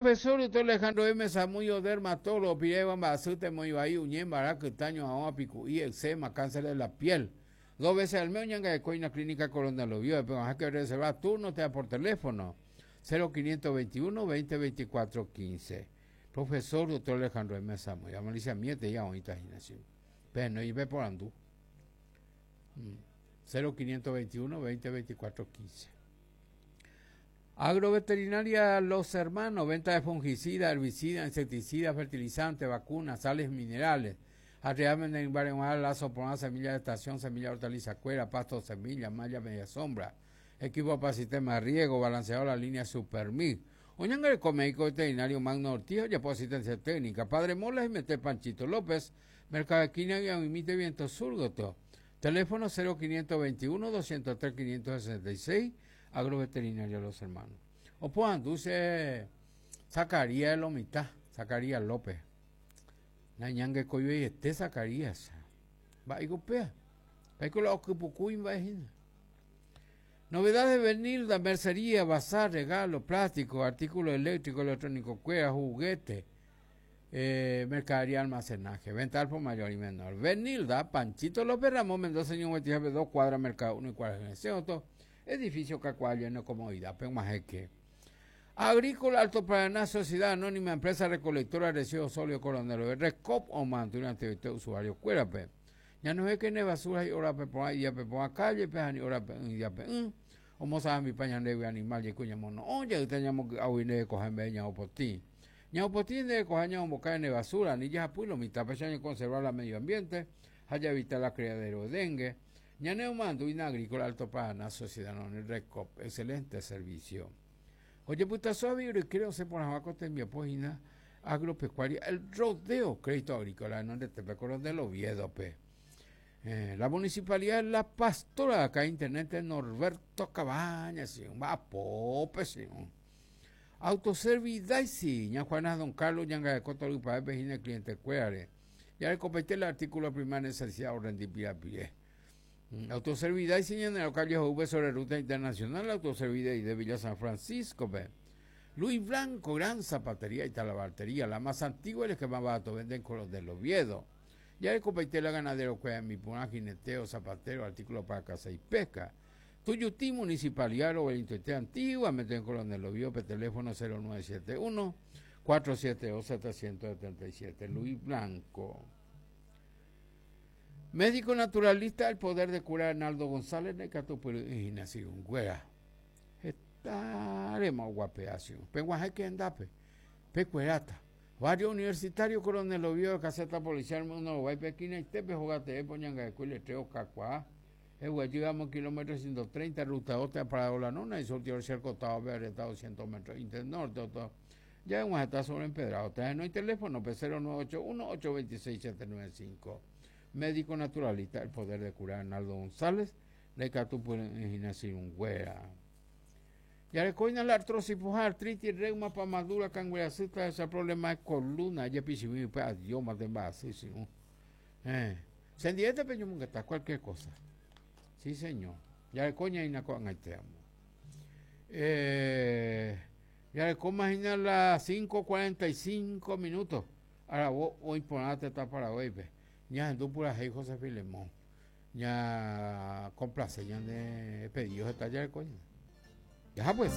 Profesor Doctor Alejandro M. Samudio, dermatólogo, piréva mba'asy temoĩ vai, uñe, mbara, kyta, ñoha'õ, apiku'i, eczema, cáncer de la piel. Dos veces al mes oñangareko hína Clínica Coronel Oviedo, peguahãke reserva turno térã por teléfono, 0521 20 24 15. Profesor Doctor Alejandro M. Samudio, amalicia miete ya oĩta hína che. Pehenói peporandu. 0521 20 24 15. Agroveterinaria Los Hermanos, venta de fungicida, herbicida, insecticida, fertilizante, vacunas, sales minerales. Arriame mbareguã lazo porã, semilla de estación, semilla hortaliza cuera, pasto semilla, malla media sombra. Equipo para sistema de riego, balanceado la línea Supermix. Oñangareko médico veterinario Magno Ortiz, ojapo asistencia técnica. Padre Mola y Mete Panchito López, Mercado Esquina y Aguimite Viento Sur, gotyo. Teléfono 0521 203 566 Agroveterinaria Los Hermanos. Oporandu che Zacarías de lo mitã, Zacarías López. Nañangekoiveiete Zacarías. Mba'éiko upéva? Mba'éiko la okypukúi mba'e hína. Novedades de Benilda, mercería, bazar, regalo, plástico, artículo eléctrico, electrónico kuéra, juguete, eh, mercadería, almacenaje, venta al por mayor y menor. Benilda, Panchito López Ramón Mendoza, Ñuguetijape, dos cuadras, Mercado 1 y cuadras Edificio kakuaa lleno comodidad pe og̃uahẽke. Agrícola Alto Paraná Sociedad Anónima Empresa Recolectora de Residuos Sólidos Coronel Oe Recop omomandu anteoite usuario kuérape. Ñanohẽke ne basura hi'órape porã idíape porã calle-pe ha hi'órape'ỹ idíape'ỹ. Omosa'ambipa ñandégui animal jeiko ñamono'õ jeyta ñamoky'águi nde rekoha mba'e ñaopotĩ. Ñaopotĩ nde rekoha ñaomboka ne basura ani jahapy lo mitãpeicha ñaconserva la medio ambiente ha jaevita la criadero de dengue. Ñane omoandu Inagrícola Alto Paraná Sociedad Anónima Recop, excelente servicio. Ojepytaso avei oryke osẽ porãva ko tembiapo hína agropecuaria El Rodeo Crédito Agrícola renondetépe Coronel Oviedo-pe. Eh, la Municipalidad de La Pastora acá Intendente Norberto Cabañas, sí, mba'apópe, sí. Autoservice Daisy, ña Juana Don Carlos ñangareko torypa'épe hína cliente kuérare. Jarekopaite la artículo primera necesidad orrendi pirapire. Mm, Autoservice ñane calle Jove sobre ruta internacional, Autoservice de Villa San Francisco. Pe. Luis Blanco, gran zapatería y talabartería, la más antigua y la que más barato venden con los del Oviedo. Jarekopaite la ganadero cueva mi purã, jineteo, zapatero, artículo para caza y pesca. Tuyutí Municipalidad Roberto Antigua, meten Coronel Oviedo, pe teléfono 0971 472 777. Luis Blanco. Médico naturalista, el poder de curar Arnaldo González, ndaikatupyry'ỹ hína sirũnguéra. Hetárema oguape'a sirũ. Peguahẽke hendápe, pekueráta. Barrio Universitario Coronel Oviedo, caseta policial uno rovái pe esquinaitépe hóga teépe oñangareko iletrero kakuaa. Eguejy amo kilómetro 130 ruta 2 térã Parado La Nona y surtidor Cerco távape areta 200 metros Inter Norte oto ja eg̃uahẽta sobre empedrado térã henói teléfono-pe 0981 826 795 Médico naturalista El Poder de Curar Arnaldo González ndaikatupyry'ỹ hína sirũnguéra. Jarekóina la artrosis pohã, artritis, reuma, pamadura, kanguerasy, tahecha problema de columna, ejepichimi upe adiós mante mba'asy sirũ. Eh. Che ndivénte peñomongeta cualquier cosa. Sí, señor. Jareko ñaína ko'ag̃aite amo. Eh, jarekóma hína la 5:45 minutos. Aravo oĩ porã tetã Paraguáipe. Ñahendu purahéi José Filemón. Ña complace ñane pedido heta jareko ñane. Jaha pues.